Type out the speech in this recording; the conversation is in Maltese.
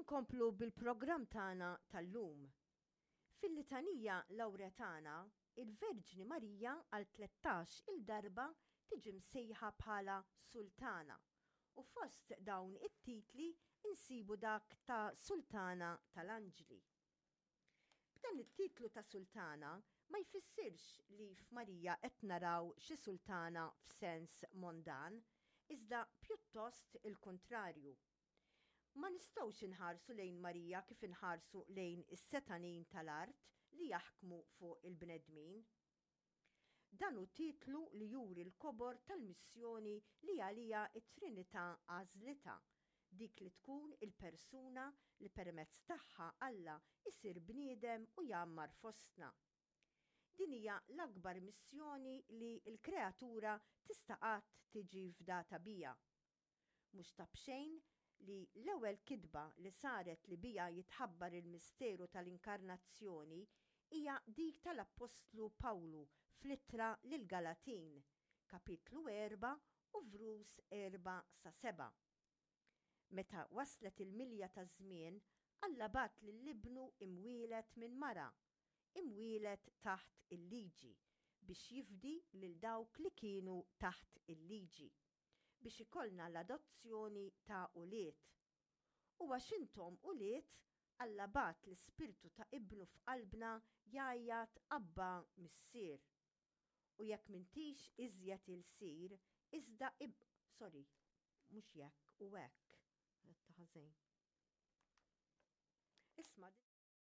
Inkomplu bil-programm tagħna tal-lum. Fil-Litanija Lawretana, il-Verġni Marija għal 13 il darba tiġi msejħa bħala Sultana u fost dawn it-titli insibu dak ta' Sultana tal-Anġli. B'dan it-titlu ta' sultana ma jfissirx li f'Marija qed naraw xi sultana f'sens mondan, iżda pjuttost il-kuntrarju. Ma nistgħux inħarsu lejn Marija kif inħarsu lejn is-setgħanin tal-art li jaħkmu fuq il-bnedmin. Dan hu titlu li juri l-kobor tal-missjoni li għaliha t-Trinità għażlitha, dik li tkun il-persuna li permezz tagħha Alla jsir bniedem u jgħammar fostna. Din hija l-akbar missjoni li l-kreatura tista' qatt tiġi fdata biha. Mhux ta' b'xejn li l-ewwel kitba li saret li biha jitħabbar il-misteru tal-Inkarnazzjoni hija dik tal-Appostlu Pawlu fl-Ittra lill-Galatin, kapitlu 4 u vrus 4 sa 7. Meta waslet il-milja taż-żmien, Alla bagħat lil Ibnu imwieled minn mara, imwieled taħt il-liġi, biex jifdi lil dawk li kienu taħt il-liġi. biex ikollna l-adozzjoni ta' ulied. U għax intom ulied, Alla bagħat l-Ispirtu ta' Ibnu f'qalbna jgħajjat Abba, Missier. U jekk m'intix iżjed ilsir, iżda ib sorry, mhux jekk, u hekk, għedtha ħażin. Isma' din.